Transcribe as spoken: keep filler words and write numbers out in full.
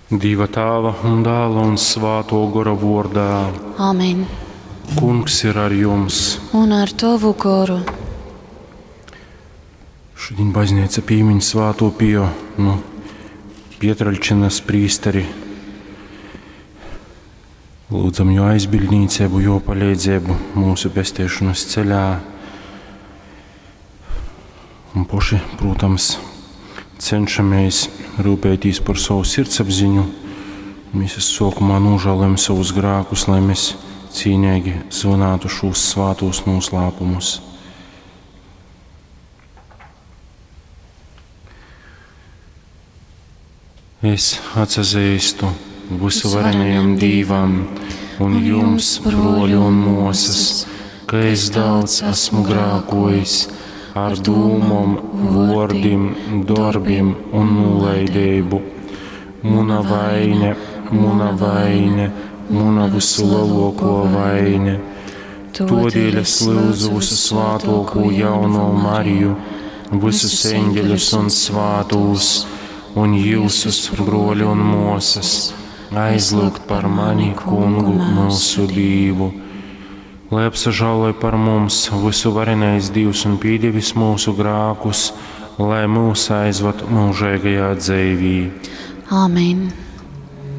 Dieva Tāva un Dāla un Svāto Gora vordā. Amen. Kungs ir ar jums. Un ar tovu goru. Šodien baznīca pīmiņ Svāto Pio, nu, Pietraļčinas prīsteri. Lūdzam jo aizbildnīcību, jo palīdzību mūsu pestiešanas ceļā. Un poši, protams, cenšamies rūpēties par savu sirdsapziņu. Mēs sākumā nožēlojam savus grēkus, lai mēs cīnīgi zvanātu šos svātos noslēpumus. Es atsazīstu visuvarenajam Dīvam un jums, broļi un mosas, ka es daudz esmu grākojis ar dūmom, vordim, darbim un nulaidību. Muna vaine, muna vaine, muna visu lielāko vaine. Todēļ es lūdzu visu svātoko jauno Mariju, visus eņģeļus un svātūs, un jūsus, broļi un mosas, aizlūgt par mani, kungu mūsu Dīvu. Lai apsažāloj par mums visu varenais Dievs un pīdevis mūsu grākus, lai mūs aizvad mūžīgajā dzīvī. Amen.